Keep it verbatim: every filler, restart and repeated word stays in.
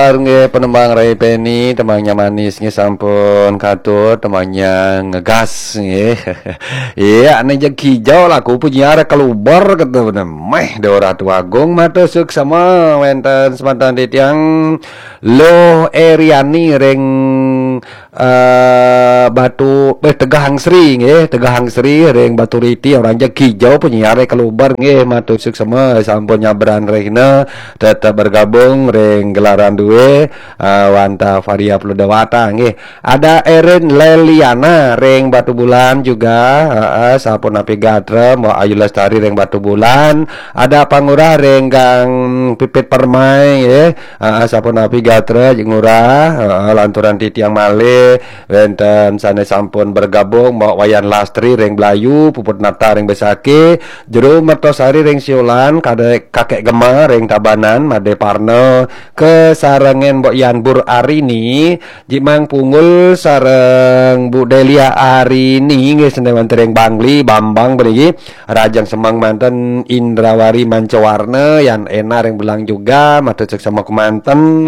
Nggih, penembang Ray Penny, tembangnya manis nggih, sampun katut, tembangnya ngegas nggih. Iya, ning jegi jauh lagu penyiar kelubar kata bener. Meh, Dora Tuagung matur suksema wenten semanten titiang Loh Eriani ring eh Batu eh Tegahangsri nggih, Tegahangsri ring Baturiti, orang jegi jauh penyiar kelubar nggih, matur suksema sampun nyabran rehna tetap bergabung ring gelaran due eh, wantah Varia Pludawata nggih. Ada Erin Leliana ring Batubulan juga, heeh, sapunapi gatra Mbok Ayu Lestari ring Batubulan, ada Pangurah ring Gang Pipit Permai nggih. Heeh, sapunapi gatra Ngurah, heeh, lanturan titiang malih wenten sane sampun bergabung, Mbok Wayan Lastri ring Blayu, Puput Nata ring Besaki, Jero Mertosari ring Siolan, Kadek Kakek Gema ring Tabanan, Made Parno, kesarengan Mbok Yanbur Arini, Jimang Punggul sareng Bu Delia Arini nggih, sane wenten ring Bangli, Bambang puniki, Rajang Semeng manten, Indrawari Mancawarna, Yan Ena ring Belang juga, matur suksema kemanten.